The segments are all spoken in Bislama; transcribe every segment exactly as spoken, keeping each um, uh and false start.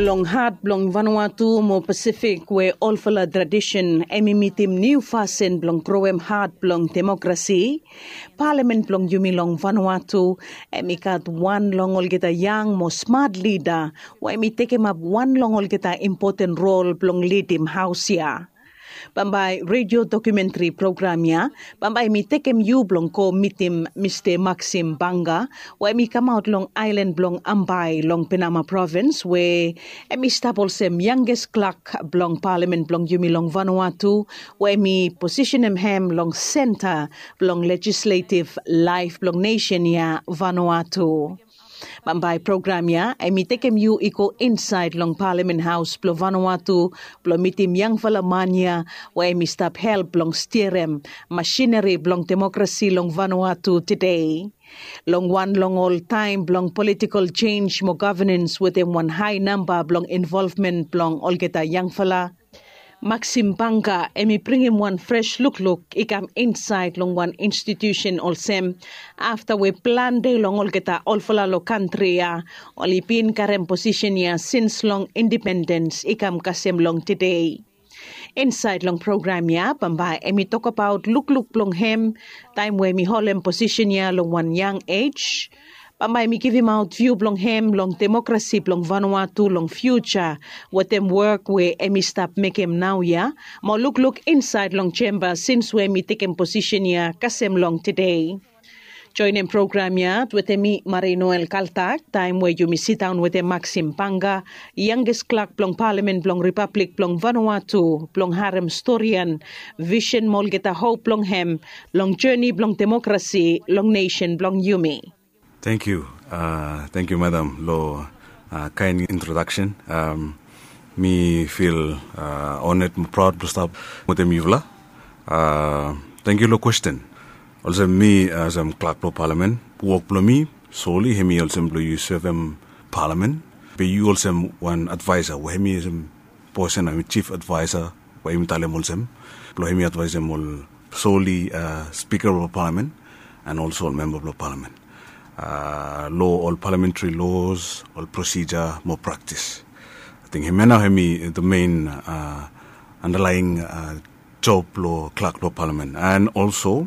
Long hat blong Vanuatu mo Pasifik we olfala tradisen em i mitim niu fasin blong groem hat blong demokrasi, palamen blong yumi long Vanuatu em i gat wan long olgeta yang mo smat lida we em i tekemap wan long olgeta impoten rol blong lidim haos ya. Bambae redio dokumentri program ya bambae mi tekem yu blong go mitim Mista Maxim Banga we mi kamaot long aelan blong Ambae long Penama provins we em i stap olsem yanges klak blong palamen blong yumi long Vanuatu we mi posisenem hem long senta blong lejisletiv laef blong nesen ya Vanuatu. Bambae program ya em i tekem yu i go insaed long palamen haos blong Vanuatu blong mitim yangfala man ya we em i stap help blong stirem masineri blong demokrasi long Vanuatu tede. Long wan long ol taem blong politikol jenj mo gavenans wetem wan hae namba blong involvmen blong olgeta yangfala, Maxim Banga em i bringim wan fres lukluk i kam insaed long wan institiusen olsem afta we plante long olgeta olfala long kantri ya oli bin karem posisen ya sins long indipendens i kam kasem long tede. Insaed long program ya bambae em i tokbaot lukluk blong hem taem we em i holem posisen ya long wan yang ej. Bambae mi givimaot viu blong hem long demokrasi blong Vanuatu long fiuja wetem wok we em i stap mekem naoia mo lukluk insaed long jemba sins we em i tekem posisen ya kasem long tede. Joenem program ya wetem mi Marie Noel Kaltak taem we yumi sidaon wetem Maxim Banga, yanges klak blong palamen blong ripablik blong Vanuatu blong harem storian visen mo olgeta hop blong hem long joni blong demokrasi long nesen blong yumi. Tangkiu. Tangkiu madam long kaen introdaksen. Mi fil oned mo praod blong stap wetem yufala. Tangkiu long kwesten. Olsem mi olsem klak blong palamen, wok blong mi soli hem i olsem blong yu sevem palamen. Be yu olsem wan advaesa we hem i olsem posen hem i jif advaesa we yumi talem olsem blong hem i advaesem ol soli spika blong palamen and olso ol memba blong palamen long ol palamentri los, ol prosija mo praktis. Ating hemia nao hem i the mein andalaing job blong klak blong palamen and olso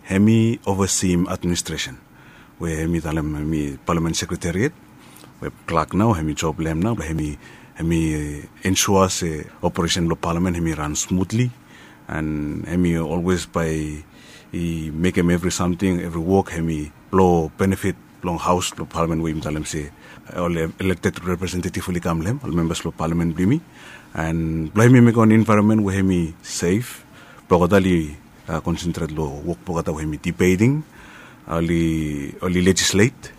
hem i ovasim administresen we hem i talem hem i palamen sekretariat we klak nao hem i job long hem nao blong hem i ensua se operesen blong palamen hem i ran smutli. And hem i olwes bae i mekem evri samting evri wok hem i blong benefit blong haos blong palamen we yumi talem se ol elekted representativ oli kam long hem ol membas blong palamen blong yumi. And blong hem i mekem wan envaeronmen we hem i sef blong olgeta oli konsentret long wok blong olgeta we hem i dibeting, oli lejislet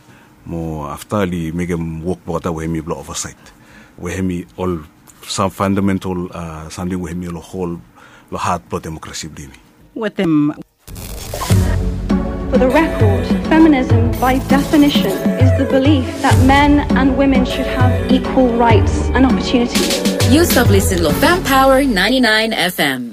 mo afta oli mekem wok blong olgeta we hem i blong ovasaet we hem i ol sam fandamental samting we hem i long hol long hat blong demokrasi blong yumi. Wetem. For the record, feminism by definition is the belief that men and women should have equal rights and opportunities. Yu stap lisin long Fem Power ninety-nine F M.